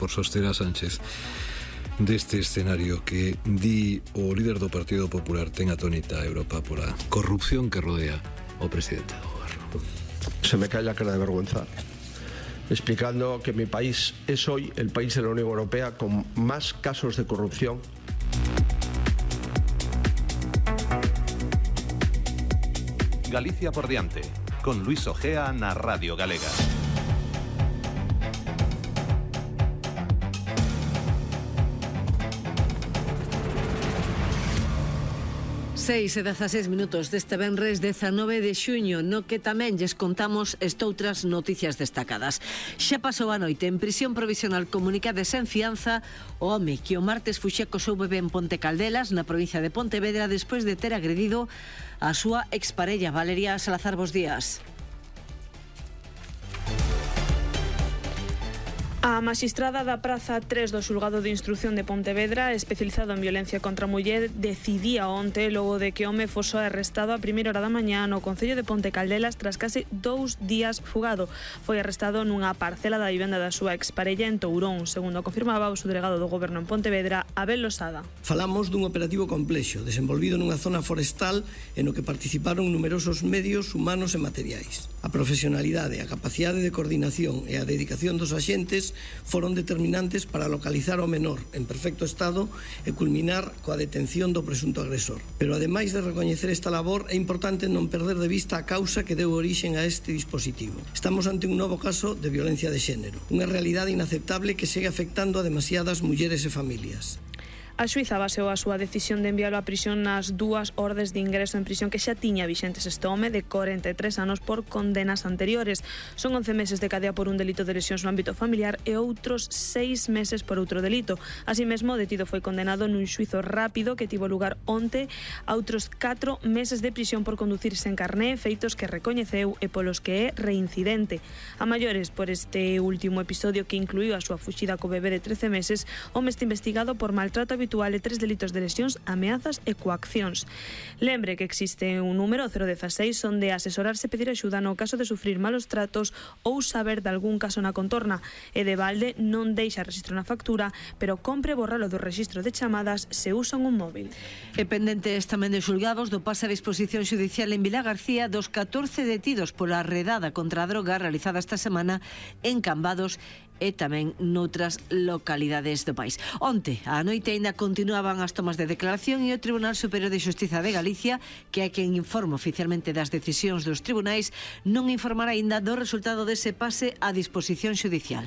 por soster a Sánchez deste escenario que di o líder do Partido Popular ten atónita a Europa pola corrupción que rodea o presidente do goberno. Se me cae la cara de vergüenza explicando que mi país es hoy el país de la Unión Europea con más casos de corrupción. Galicia por diante, con Luis Ojea na Radio Galega. 6:16 deste venres 19 de xuño, no que tamén lles contamos estoutras noticias destacadas. Xa pasou a noite en prisión provisional comunicada sen fianza o home que o martes fuxe co seu bebé en Ponte Caldelas, na provincia de Pontevedra, despois de ter agredido a súa exparella. Valeria Salazar, bos días. A magistrada da Praza 3 do Xulgado de Instrución de Pontevedra, especializado en violencia contra a muller, decidía onte logo de que o home fose arrestado a primeira hora da mañá no concello de Ponte Caldelas tras case 2 días fugado. Foi arrestado nunha parcela da vivenda da súa exparella en Tourón, segundo confirmaba o subdelegado do Goberno en Pontevedra, Abel Losada. Falamos dun operativo complexo, desenvolvido nunha zona forestal en o que participaron numerosos medios humanos e materiais. A profesionalidade, a capacidade de coordinación e a dedicación dos axentes foron determinantes para localizar ao menor en perfecto estado e culminar coa detención do presunto agresor. Pero ademais de recoñecer esta labor, é importante non perder de vista a causa que deu orixen a este dispositivo. Estamos ante un novo caso de violencia de xénero, unha realidade inaceptable que segue afectando a demasiadas mulleres e familias. A xuíza baseou a súa decisión de envialo a prisión nas 2 ordes de ingreso en prisión que xa tiña vixentes este home de 43 anos por condenas anteriores. Son 11 meses de cadea por un delito de lesións no ámbito familiar e outros 6 meses por outro delito. Así mesmo, o detido foi condenado nun xuizo rápido que tivo lugar onte a outros 4 meses de prisión por conducir sen carné, feitos que recoñeceu e polos que é reincidente. A maiores por este último episodio que incluíu a súa fuxida co bebé de 13 meses, o home está investigado por maltrato habitual e 3 delitos de lesións, ameazas e coaccións. Lembre que existe un número 016 onde asesorarse e pedir axuda no caso de sufrir malos tratos ou saber de algún caso na contorna. E de balde non deixa rexistro na factura, pero compre borralo do rexistro de chamadas se usan un móvil. E pendentes tamén de xulgados do pase a disposición xudicial en Vilagarcía dos 14 detidos pola redada contra a droga realizada esta semana en Cambados e tamén noutras localidades do país. Onte, a noite aínda continuaban as tomas de declaración e o Tribunal Superior de Xustiza de Galicia, que é quen informa oficialmente das decisións dos tribunais, non informará aínda do resultado dese pase a disposición xudicial.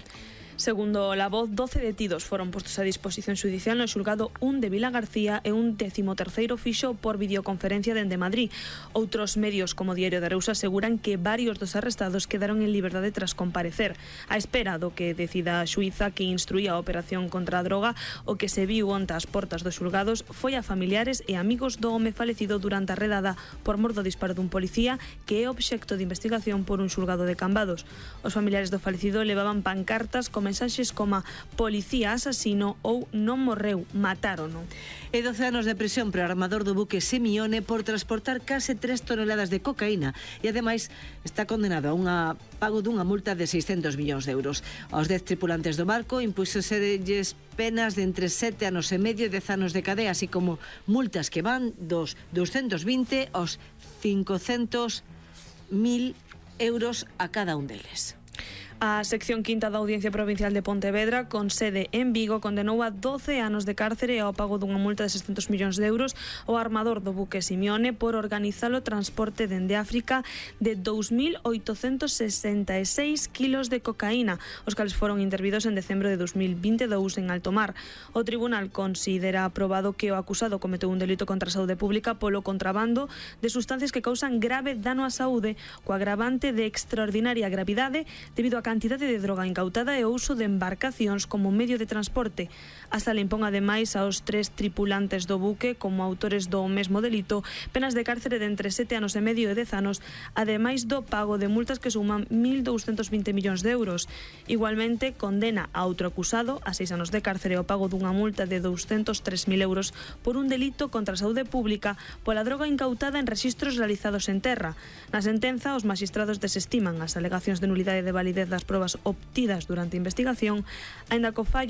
Segundo La Voz, 12 detidos foron postos a disposición xudicial no xulgado 1 de Vilagarcía e un 13º fixo por videoconferencia dende Madrid. Outros medios como Diario de Arousa aseguran que varios dos arrestados quedaron en liberdade tras comparecer. A espera do que decida a xuíza que instruía a operación contra a droga, o que se viu onte ás portas dos xulgados foi a familiares e amigos do home falecido durante a redada por mor do disparo dun policía que é obxecto de investigación por un xulgado de Cambados. Os familiares do falecido levaban pancartas con mensaxes como policía asasino ou non morreu, matárono. E 12 anos de prisión para o armador do buque Simione por transportar case 3 toneladas de cocaína e ademais está condenado a pago dunha multa de 600 millóns de euros. Aos 10 tripulantes do barco impúxoselles penas de entre 7 anos e medio e 10 anos de cadea, así como multas que van dos 220 aos 500.000 euros a cada un deles. A sección quinta da Audiencia Provincial de Pontevedra, con sede en Vigo, condenou a 12 anos de cárcere e ao pago dunha multa de 600 millóns de euros ao armador do buque Simione por organizar o transporte dende África de 2.866 kilos de cocaína, os cales foron intervidos en decembro de 2022 en alto mar. O tribunal considera aprobado que o acusado cometeu un delito contra a saúde pública polo contrabando de sustancias que causan grave dano á saúde, co agravante de extraordinaria gravidade debido á cantidade de droga incautada e o uso de embarcacións como medio de transporte. A sala impón ademais aos 3 tripulantes do buque como autores do mesmo delito penas de cárcere de entre 7 anos e medio e 10 anos, ademais do pago de multas que suman 1.220 millóns de euros. Igualmente, condena a outro acusado a 6 anos de cárcere e o pago dunha multa de 203.000 euros por un delito contra a saúde pública pola droga incautada en rexistros realizados en terra. Na sentenza, os magistrados desestiman as alegacións de nulidade de validez das probas obtidas durante a investigación, aínda co fallo